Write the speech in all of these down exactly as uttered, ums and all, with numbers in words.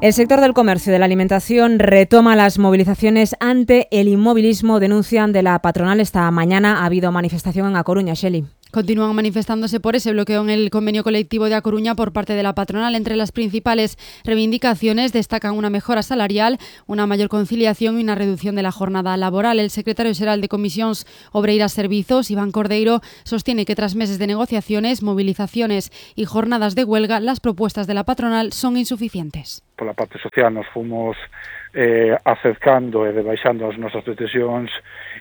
El sector del comercio y de la alimentación retoma las movilizaciones ante el inmovilismo, denuncian de la patronal. Esta mañana ha habido manifestación en A Coruña, Shelley. Continúan manifestándose por ese bloqueo en el convenio colectivo de A Coruña por parte de la patronal. Entre las principales reivindicaciones destacan una mejora salarial, una mayor conciliación y una reducción de la jornada laboral. El secretario xeral de Comisións Obreiras Servizos, Iván Cordeiro, sostiene que tras meses de negociaciones, movilizaciones y jornadas de huelga, las propuestas de la patronal son insuficientes. Por la parte social nos fomos eh, acercando e debaixando as nosas pretensións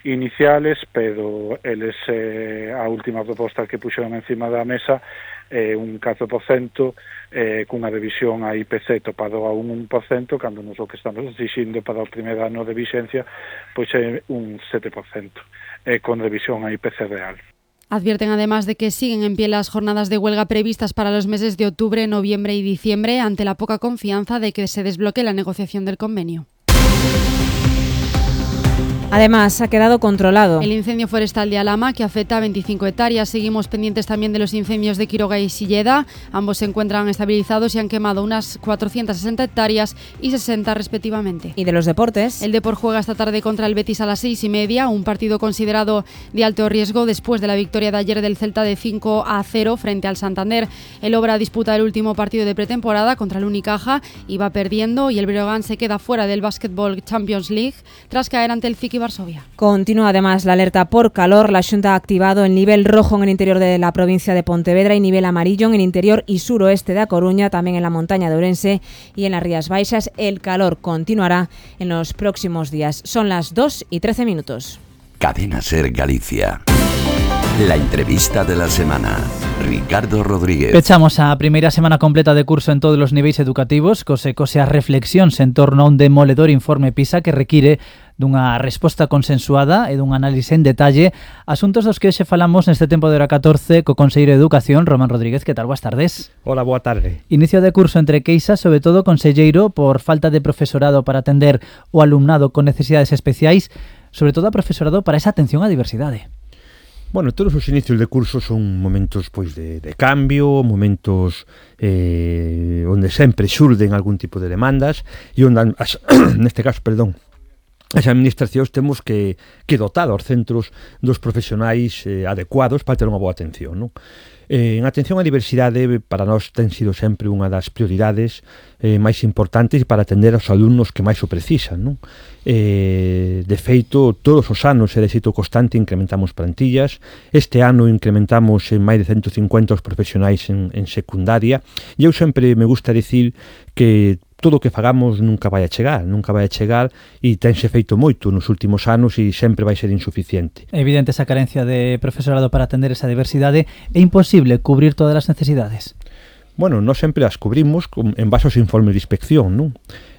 iniciales, pero eles eh, a última proposta que puxeron encima da mesa é eh, un catro por cento eh, cunha revisión a I P C topado a un un por cento, cando nos o que estamos exixindo para o primer ano de vixencia pois é un sete por cento eh, con revisión a I P C real. Advierten además de que siguen en pie las jornadas de huelga previstas para los meses de octubre, noviembre y diciembre ante la poca confianza de que se desbloquee la negociación del convenio. Además, ha quedado controlado el incendio forestal de Alhama, que afecta a veinticinco hectáreas. Seguimos pendientes también de los incendios de Quiroga y Silleda. Ambos se encuentran estabilizados y han quemado unas cuatrocientas sesenta hectáreas y sesenta respectivamente. ¿Y de los deportes? El Depor juega esta tarde contra el Betis a las seis y media, un partido considerado de alto riesgo después de la victoria de ayer del Celta de cinco a cero frente al Santander. El Obra disputa el último partido de pretemporada contra el Unicaja y va perdiendo, y el Breogán se queda fuera del Basketball Champions League tras caer ante el Ciki Varsovia. Continúa además la alerta por calor. La Xunta ha activado el nivel rojo en el interior de la provincia de Pontevedra y nivel amarillo en el interior y suroeste de A Coruña, también en la montaña de Ourense y en las Rías Baixas. El calor continuará en los próximos días. Son las dos y trece minutos. Cadena Ser Galicia. La entrevista de la semana. Ricardo Rodríguez. Pechamos a primeira semana completa de curso en todos os niveis educativos, cose cose as reflexións en torno a un demoledor informe PISA que require dunha resposta consensuada e dun análise en detalle, asuntos dos que hoxe falamos neste tempo de hora catorce co Conselleiro de Educación, Román Rodríguez. Que tal? Boas tardes. Hola, boa tarde. Inicio de curso entre queixas, sobre todo, conselleiro, por falta de profesorado para atender o alumnado con necesidades especiais, sobre todo a profesorado para esa atención á diversidade. Bueno, todos os inicios de curso son momentos pois de, de cambio, momentos eh, onde sempre xurden algún tipo de demandas e onde, as, neste caso, perdón, as administracións temos que, que dotar aos centros dos profesionais eh, adecuados para ter unha boa atención, non? Eh, en atención á diversidade para nós ten sido sempre unha das prioridades eh, máis importantes para atender aos alumnos que máis o precisan, non? Eh, de feito, todos os anos é de xeito constante incrementamos plantillas. Este ano incrementamos en máis de ciento cincuenta os profesionais en, en secundaria, e eu sempre me gusta dicir que todo o que fagamos nunca vai a chegar, nunca vai a chegar e tense feito moito nos últimos anos e sempre vai ser insuficiente. É evidente esa carencia de profesorado para atender esa diversidade. É imposible cubrir todas as necesidades? Bueno, nós sempre as cubrimos en base aos informes de inspección, non?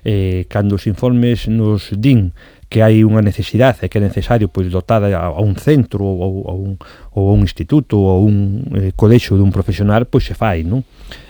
Eh, cando os informes nos din que hai unha necesidade e que é necesario pois dotar a, a un centro ou a un, ou a un instituto ou a un eh, colexio dun profesional, pois se fai, non?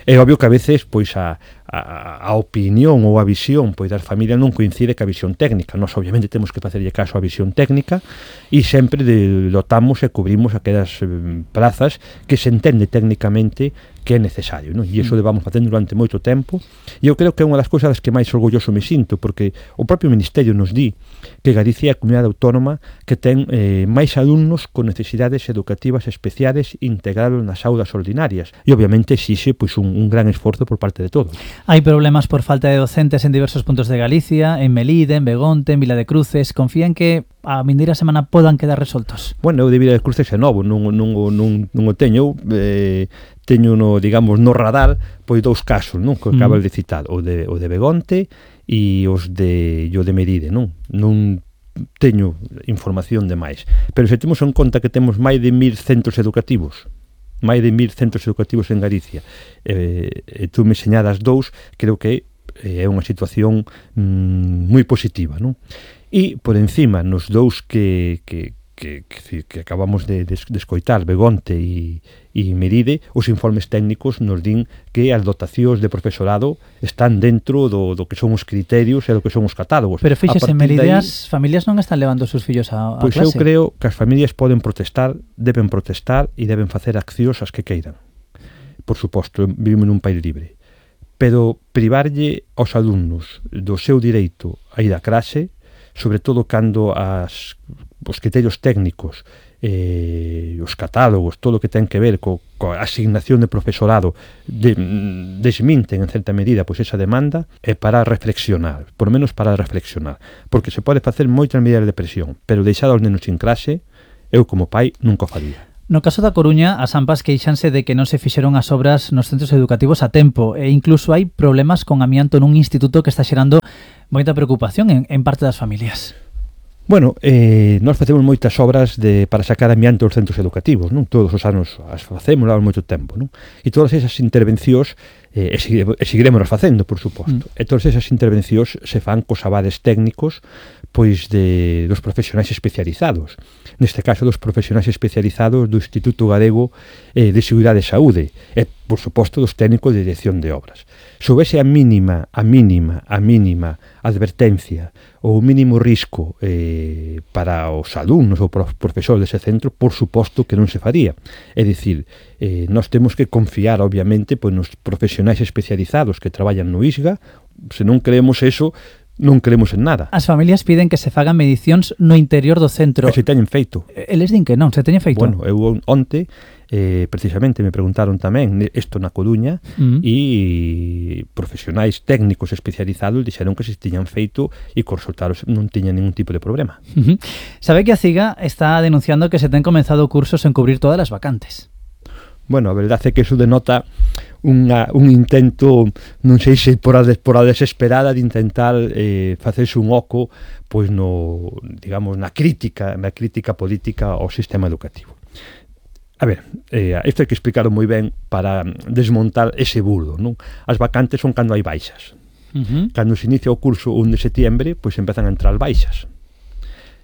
É obvio que a veces pois a, a, a opinión ou a visión pois das familias non coincide ca visión técnica. Nós obviamente temos que facerlle caso á visión técnica e sempre de, dotamos e cubrimos aquelas eh, plazas que se entende técnicamente que é necesario, non? E iso levamos facendo durante moito tempo, e eu creo que é unha das cousas que máis orgulloso me sinto, porque o propio Ministerio nos di que Galicia é a comunidade autónoma que ten eh, máis alumnos con necesidades educativas especiales integrados nas aulas ordinarias, e obviamente exixe pois, un, un gran esforzo por parte de todos. Hai problemas por falta de docentes en diversos puntos de Galicia, en Melide, en Begonte, en Vila de Cruces. Confían que a vindeira semana podan quedar resoltos? Bueno, eu de Vila de Cruces é novo, non, non, non, non o teño, eh, teño no, digamos, no radar pois dous casos, non, que acabo mm. de citar, o de, o de Begonte e os de, o de Melide, non? Non teño información de máis. Pero se temos en conta que temos máis de mil centros educativos, máis de mil centros educativos en Galicia, eh, e tú me señalas dous, creo que é unha situación mm, moi positiva, non? E, por encima, nos dous que, que, que, que, que acabamos de, de, de escoitar, Begonte e, e Melide, os informes técnicos nos din que as dotacións de profesorado están dentro do, do que son os criterios e do que son os catálogos. Pero fíxese, en Melide as familias non están levando os seus fillos a, a pois clase? Pois eu creo que as familias poden protestar, deben protestar e deben facer accións as que queiran. Por suposto, vivimos nun país libre. pero privarlle aos alumnos do seu direito a ir a clase, sobre todo cando as, os criterios técnicos, eh, os catálogos, todo o que ten que ver co, coa asignación de profesorado de, desminten en certa medida pois esa demanda, é para reflexionar, por menos para reflexionar, porque se pode facer moitas medidas de presión, pero deixar aos nenos sin clase, eu como pai nunca o faría. No caso da Coruña, as AMPAs queixanse de que non se fixeron as obras nos centros educativos a tempo e incluso hai problemas con amianto nun instituto que está xerando moita preocupación en, en parte das familias. Bueno, eh, nós facemos moitas obras de, para sacar amianto aos centros educativos, non? Todos os anos as facemos, levamos moito tempo, non? E todas esas intervencións, eh, e, seguiremos, e seguiremos facendo, por suposto, mm. e todas esas intervencións se fan cos avales técnicos pois de, dos profesionais especializados. Neste caso, dos profesionais especializados do Instituto Galego eh, de Seguridade e Saúde e, por suposto, dos técnicos de dirección de obras. Se houvese a mínima, a mínima, a mínima advertencia ou o mínimo risco eh, para os alumnos ou para os profesores dese centro, por suposto que non se faría. É dicir, eh, nós temos que confiar, obviamente, pois, nos profesionais especializados que traballan no I S G A. Se non creemos eso, non creemos en nada. As familias piden que se fagan medicións no interior do centro. E se teñen feito. Eles din que non, se teñen feito. Bueno, eu onte, eh, precisamente, me preguntaron tamén isto na Coruña uh-huh. e profesionais técnicos especializados dixeron que se tiñan feito e que os resultados non tiñan ningún tipo de problema. Uh-huh. Sabe que a CIGA está denunciando que se ten comenzado cursos en cubrir todas as vacantes. Bueno, a verdade é que iso denota unha, un intento, non sei se por a, des, por a desesperada de intentar eh, facerse un oco pois no, digamos, na crítica, na crítica política ao sistema educativo. A ver, eh, isto hai que explicarlo moi ben para desmontar ese bulo, non? As vacantes son cando hai baixas. Uh-huh. Cando se inicia o curso un de setiembre, pois empezan a entrar baixas.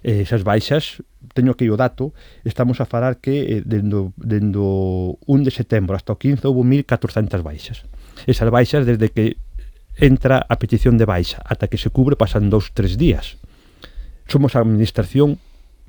Eh, esas baixas, teño aquí o dato, estamos a falar que eh, dendo, dendo un de setembro hasta o quince houve mil catrocentas baixas. Esas baixas, desde que entra a petición de baixa ata que se cubre, pasan dous, tres días. Somos a administración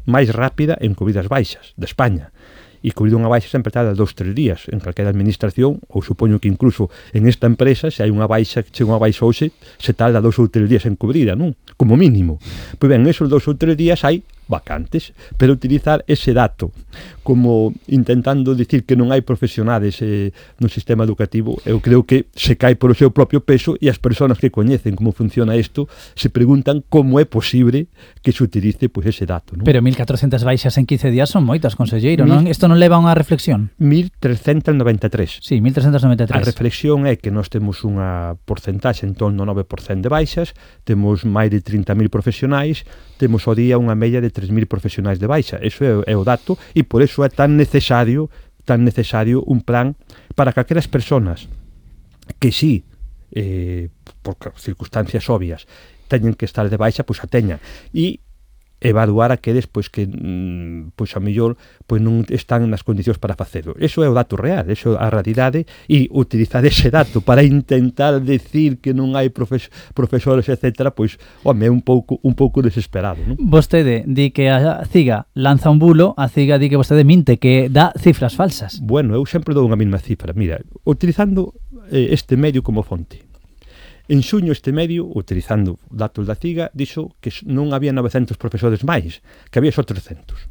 máis rápida en cubrir as baixas de España. E cubrir unha baixa sempre tarda dous, tres días en calquera administración, ou supoño que incluso en esta empresa, se hai unha baixa, chega unha baixa hoxe, se tarda dous ou tres días en cubrida, non? Como mínimo. Pois ben, esos dous ou tres días hai vacantes, pero utilizar ese dato como intentando dicir que non hai profesionales eh, no sistema educativo, eu creo que se cae por o seu propio peso e as persoas que coñecen como funciona isto se preguntan como é posible que se utilice pois, ese dato, non? Pero mil catrocentas baixas en quince días son moitas, conselleiro, non? Isto non leva a unha reflexión? mil trescentas noventa e tres. Sí, mil trescentas noventa e tres. A reflexión é que nós temos unha porcentaxe en torno ao nove por cento de baixas, temos máis de trinta mil profesionais, temos ao día unha media de tres mil profesionais de baixa. Eso é, é o dato e por eso é tan necesario tan necesario un plan para que aquelas persoas que sí, eh, por circunstancias obvias, teñen que estar de baixa, pois a teñan. E evaluar aqueles pois que pois a mellor pois non están nas condicións para facelo. Eso é o dato real, eso é a realidade e utilizar ese dato para intentar decir que non hai profes, profesores, etcétera, pois, home, é un pouco un pouco desesperado, non? Vostede di que a CIGA lanza un bulo, a CIGA di que vostede minte, que dá cifras falsas. Bueno, eu sempre dou unha mesma cifra. Mira, utilizando eh, este medio como fonte. En xuño este medio, utilizando datos da CIGA, dixo que non había novecentos profesores máis, que había só trescentos.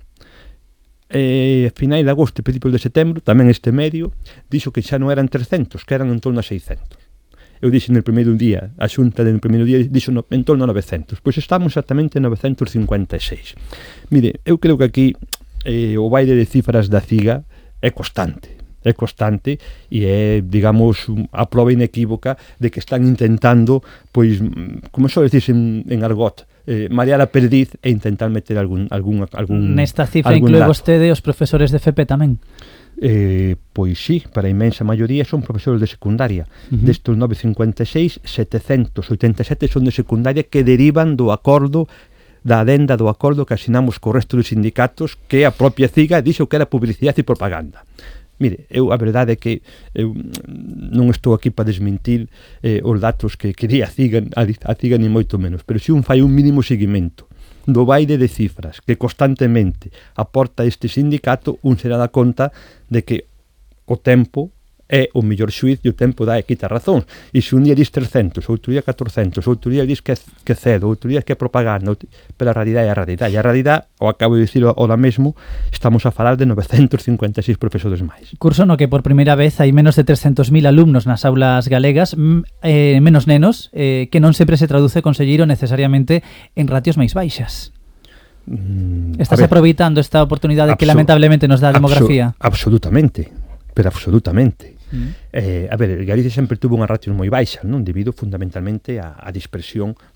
E a finais de agosto e principios de setembro, tamén este medio, dixo que xa non eran trescentos, que eran en torno a seiscentos. Eu dixo no primeiro día, a xunta no primeiro día dixo no, en torno a novecentos. Pois estamos exactamente en novecentos cincuenta e seis. Mire, eu creo que aquí eh, o baile de cifras da CIGA é constante. é constante e é, digamos, a prova inequívoca de que están intentando, pois, como só decís en, en argot, eh, marear a perdiz e intentar meter algún algún algún Nesta cifra inclúe vostede os profesores de F P tamén? Eh, pois sí, para a imensa maioría son profesores de secundaria. Uh-huh. Destos novecentos cincuenta e seis, setecentos oitenta e sete son de secundaria que derivan do acordo da adenda do acordo que asinamos co resto dos sindicatos, que a propia CIGA dixo que era publicidade e propaganda. Mire, eu a verdade é que eu non estou aquí para desmentir eh, os datos que quería a CIGA, a CIGA ni moito menos, pero se un fai un mínimo seguimento do baile de cifras que constantemente aporta este sindicato, un será da conta de que o tempo é o mellor xuiz e o tempo dá e quita razón. E se un día dis trescentos, outro día catorcentos, outro día dis que, que cedo, outro día que é propaganda, outro... pero a realidade é a realidade. E a realidade, o acabo de dicir ahora mesmo, estamos a falar de novecentos cincuenta e seis profesores máis. Curso no que por primeira vez hai menos de trescentos mil alumnos nas aulas galegas, eh, menos nenos, eh, que non sempre se traduce, conselleiro, necesariamente en ratios máis baixas. Mm, Estás aproveitando esta oportunidade que lamentablemente nos dá a demografía? Abso absolutamente, pero absolutamente. Mm. Eh, a ver, Galicia sempre tuvo unha ratios moi baixas, non, debido fundamentalmente á, á dispersión